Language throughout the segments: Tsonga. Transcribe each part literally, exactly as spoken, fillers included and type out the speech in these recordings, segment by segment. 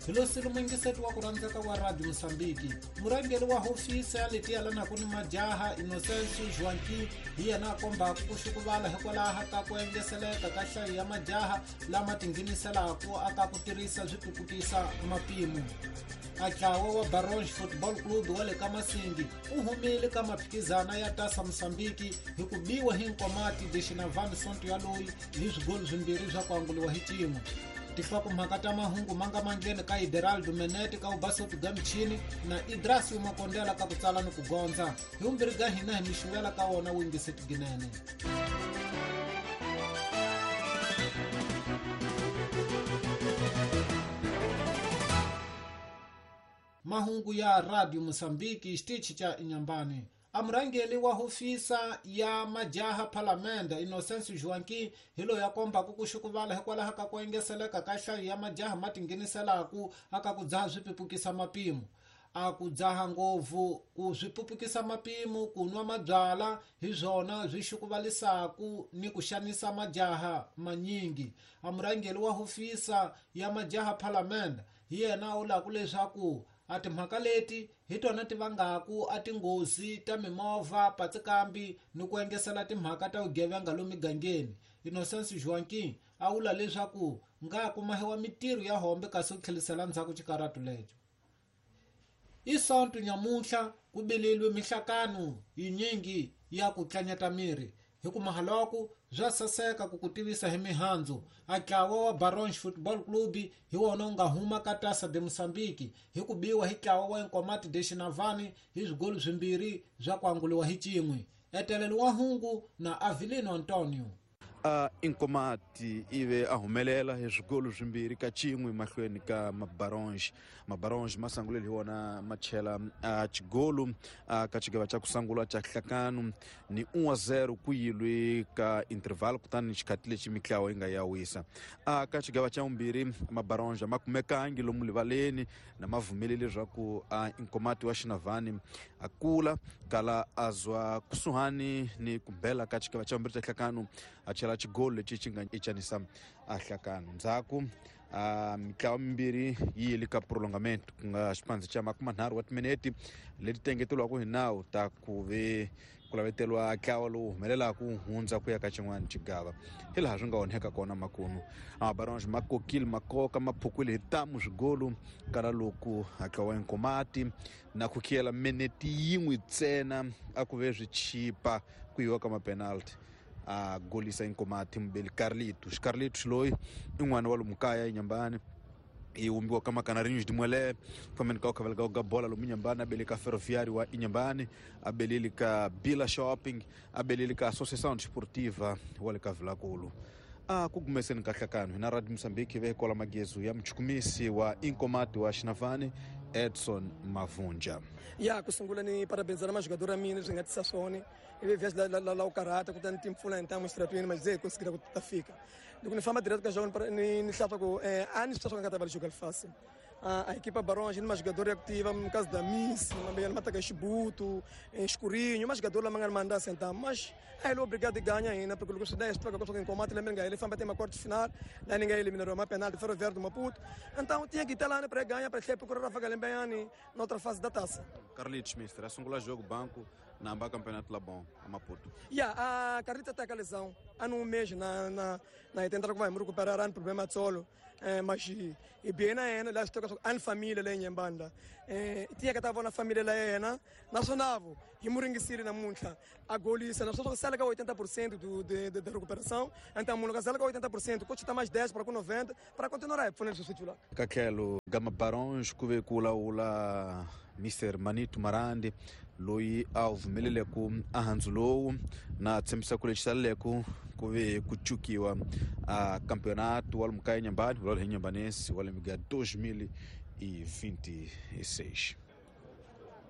Hi lo silumengise wa ku rhandzeka wa Radio Mozambique. Murhangeri wa hofisi ya leti yelanaka ni majaha Innocencio Joaquim hi yena a kombaka ku xukuvala hikwalaho ka ku engeseleka ka nhlayo ya majaha lama tingheniselaka aka ku tirhisa swipupukisa mapimo. A ntlawa wa Baronge Football Club wa le ka Masindi u humile ka maphikizana ya Taça Mozambique hi ku biwa hi Nkomati de Xinavani sonto ya loyi hi swigolo swimbirhi swa ku anguliwa hi xin'we. Tinhlokomhaka ta mahungu ma nga mandleni ka Ideraldo Menete ka Ubasotu Gamchini na Idrasi Makondela ka ku tsala ni ku gondza. Hi vumbirhi ka hina hi mi xuvela ka wona wingise tiginene. Mahungu ya Radio Mozambique xitichi cha Inhambane. Amurhangeri wa hofisa ya majaha Palamende Innocencio Joaquim hi loyi a kombaka ku xukuvala hikwalaho ka ku engeseleka ka nhlayo ya majaha ma tingheniselaka aka ku dzaha swipupukisa mapimo. A ku dzaha ngopfu ku swipupukisa mapimo ku nwa mabyala hi swona swi xukuvalisaku ni ku xanisa majaha manyingi. Amurhangeri wa hofisa ya majaha Palamende hi yena a vulaka leswaku a timhaka leti hi tona ti vangaku a tinghozi ta mimovha patsikambi ni ku engesela timhaka ta vugevenga lomu migangeni. Innocencio Joaquim a vula leswaku nga kumahiwa mitirho ya hombe kasi ku tlhelisela ndzhaku xikaratu lexo. I sonto nyamuntlha ku bileliwe mihlakano yinyingi ya ku tlanyata miri hi ku mahaloko bya saseka ku ku tivisa hi mihandzu. A ntlawa wa Baronge Football Club hi wona wu nga huma ka Taça de Mozambique hi ku biwa hi ntlawa wa Nkomati de Xinavani hi swigolo swimbirhi swa ku anguliwa hi xin'we. Etelelo wa hungu na Avelino Antonio. A Nkomati ive a humelela hi swigolo swimbirhi ka xin'we mahlweni ka Mabaronge. Mabaronge ma sangulele hi wona ma chela a xigolo ka xigava xa ku sungula xa nhlakano ni un a zero ku yilwe ka interval kutani xikhati lexi mitlawa yi nga ya wisa. A ka xigava xa vumbirhi Mabaronge ma kumekangi lomu rivaleni na ma vumelele leswaku a Nkomati wa Xinavani a kula kala a zwa kusuhani ni ku bela ka xigava xa vumbirhi xa nhlakano a chela xigolo lexi xi nga ichanisa a nhlakano. Ndzhaku a mitlawa mimbirhi yi yile ka prolongamento ku nga xipandzi xa makumanharhu wa timinete leti tengeteriwaka hi nawu ta ku ve ku laveteriwa ntlawa lowu humelelaka ku hundza ku ya ka xin'wana xigava hi laha swi nga onheka kona makunu. Mabaronge ma kokile ma koka ma phukwile hi ntamu swigolo kala loko ntlawa wa Nkomati na ku khiyela minete yin'we ntsena a ku ve swi chipa ku yiwa ka mapenalty. A golisa Nkomati mubeli Carlito. Carlito loyi i n'wana wa lomu kaya eNyambani i vumbiwa ka Macanarinhos de Muelé fambeni ka khaveleka ka bola lomu Inhambane a bele ka Ferroviário wa Inhambane a beleli ka Bila Shopping a beleli ka Associação Desportiva wa le ka Vilankulu. A ku gumeseni ka nhlakano hina Radio Mozambique ve kola magezu ya muchukumisi wa Nkomati wa Xinavani Edson Mavunja. Ya ku sungula ni parabenizar majogador a mina swi nga tisa swona ivi vias la la la ukarata kutani timpfula hintamu xitratweni mas ze conseguir ku ta fika loko ni famba direto ka jogo ni ni hlapa ku a ni swi swa nga ta va jogar fácil. A equipa Baronge ni majogador ya kutiva no caso da Miss mambeyana mataka Xibuto Escurinho majogador la manga manda sentar mas aí ele obrigado a ganhar ainda porque loko swi da extra ka swa Nkomati lembe nga ele famba tem quarto final lá ninguém eliminou uma penalti Ferroviário do Maputo então tinha que estar lá para ganhar para sempre procurar vaga lembe na outra fase da taça. Carlitos mister, sungula jogo banco na amba campeonato lá bom a Maputo. Yeah, a Carlita tá com a lesão há um mês na na na tentar que vai recuperar um problema de solo eh, mas e bem na ena lá estou com a família lá em Mbanda eh, tinha que estava na família lá ena nacional e muringisiri na muncha a golisa nós só sala com oitenta por cento do de, de, de recuperação então mundo sala com oitenta por cento coach tá mais dez para com noventa para continuar a fundo substituir lá kakelo gama Barões kuve kula ula Mister Manito Marandi loyi a vumeleleko a handzu lowu na tshembisa ku lexi saleleko ku ve ku cukiwa a campeonato wa lomu ka Inhambane wa le Inhambanense wa lembe ga dois mil e vinte e seis.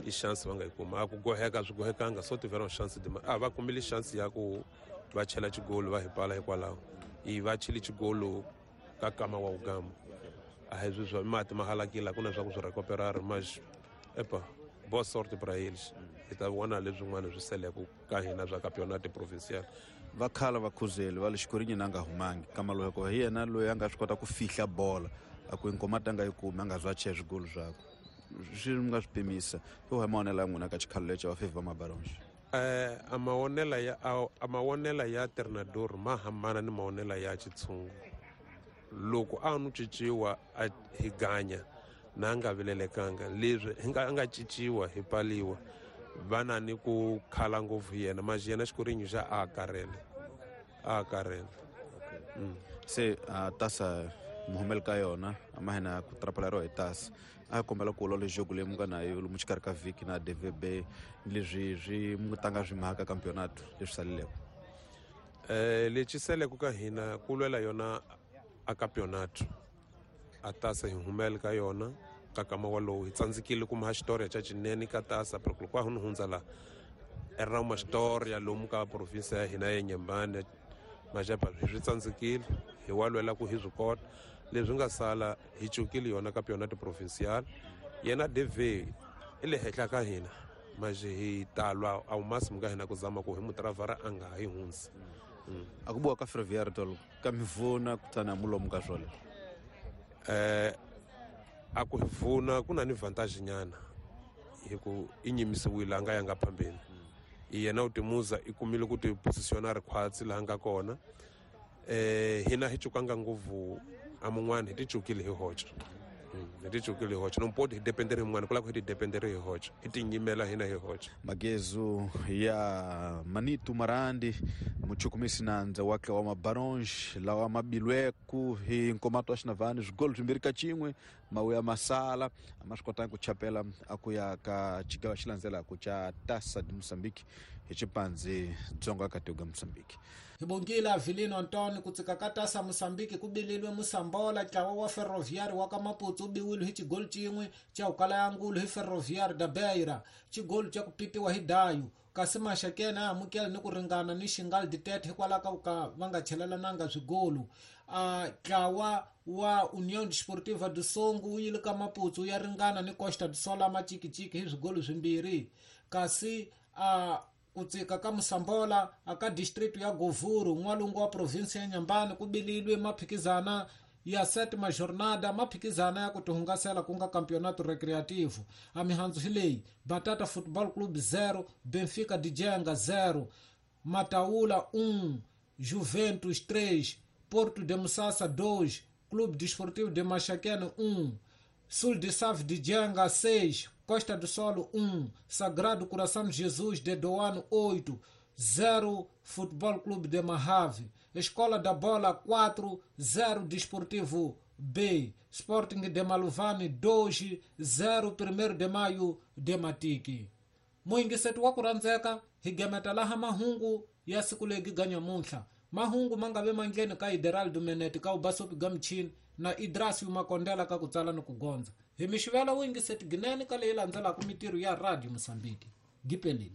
I chance va nga yi kuma a ku goheka swi gohekanga so tiveram chance de a va kumile chance ya ku va chela xigolo va hi pala hikwalaho i va chele xigolo ka kama wa ugamba a hi swi swa mati ma halakile ku na swa ku swi recuperar mas epa boa sorte para eles hi ta vona leswin'wana swi seleke ka hina swa campeonato provincial. Va khala va khuzeli va le Xikorinyi na nga humangi kama loko hi yena loyi a nga swi kota ku fihla bola A ku Nkomati a nga yi kumi a nga zwa cheya swigolo zwakwe swi mi nga swi pimisa yo hi mavonelo ya n'wina ka xikhalo lexi va favor Mabaronge. Eh a mavonelo ya a mavonelo ya treinador ma hambana ni mavonelo ya xitshungu. Loko a nu cinciwa a hi ganya na nga vilelekanga leswi hi nga nga cinciwa hi paliwa vana ni ku khala ngopfu yena maji yena xikorinyo xa a karele a karele. Mm. Se uh, tasa muhumel ka yona a ma hina ku trapela ro hi tasa a kombela ku lola jogo leyi mu nga na yo lomu xikarhi ka vhiki na D V B leswi swi mu tanga swi mhaka campeonato leswi saleleko. Eh lexi seleko ka hina ku lwela yona a campeonato a tasa hi humel ka yona ka kama walowo hi tsandzekile kuma xitori xa xinene ka tasa pero loko a hu hundza la era uma história lomu ka province ya hina ya Nyembane majapa swi tsandzekile hi wa lwela ku hi swi kota leswi nga sala hi cukile yona campeonato provincial yena D V i le henhla ka hina maje hi talwa a máximo ka hina ku zama ku hi mutravara a nga hi hundzi. A ku buwa ka Ferroviário tolo ka mivuna kutani mulomu ka swole eh a ku vuna ku na ni vantage nyana hi ku i nyimisiwile a nga yanga phambeni yena u timuza i kumile ku ti positionar khwatsi laha nga kona eh hina hi cukanga ngopfu a mun'wana hi ti cukile hi hoxa hi ti cukile hi hoxa no mpoti hi dependere hi mun'wana ku lava ku hi ti dependere hi hoxa hi ti nyimela hina hi hoxa. Magezu ya Manito Marandi muchukumisi nandza wa wa Mabaronge lawa mabilweku hi Nkomato wa Xinavani swigolo swimbirhi ka xin'we mawuya masala a ma swi kotanga ku chapela a ku ya ka xigava xi landzelaka xa Taça de Moçambique hi xipandzi dzonga ka tiko Moçambique. Hi bongile Avelino Antoni ku tsika ka Taça Moçambique ku bililwe Moçambola ntlawa wa Ferroviário wa ka Maputo u biwile hi xigolo xin'we xa ukala ya ngulu hi Ferroviário da Beira xigolo xa ku pipiwa hi Dayo kasi Maxakene a amukela ni ku ringana ni Xingal Ditete hikwalaho ka ku ka va nga chelelananga swigolo. A ntlawa wa União Desportiva do Songo wu yile ka Maputo ya ringana ni Costa do Sol Machikichiki hi swigolo swimbirhi kasi a ku tsika ka Moçambola aka district ya Govuro n'walungu wa province ya Nyambani ku bililwe maphikizana ya sétima jornada maphikizana ya ku tihungasela ku nga campeonato recreativo. A mihandzu hi leyi: Batata Football Club zero, Benfica de Jenga zero, Mataula um, Juventus três, Porto de Musasa dois, Clube Desportivo de Maxaquene um, Sul de Save de Jenga seis, Costa do Sol um, Sagrado Coração de Jesus de Doano oito, zero Futebol Clube de Mahave, Escola da Bola quatro, zero Desportivo B, Sporting de Maluvane dois, zero primeiro de Maio de Matiki. Muingisetu wa kuranzeka higemeta laha mahungu ya siku legi ganya munhla. Mahungu mangabe mandleni ka Ideraldo Menete ka ubasopi gamchini na Idrasi Makondela ka kutsala ni kugonza. Hi mixivela wingiseti ginene ka leyi landzelaka mitirho ya Radio Mozambique. Gipelile.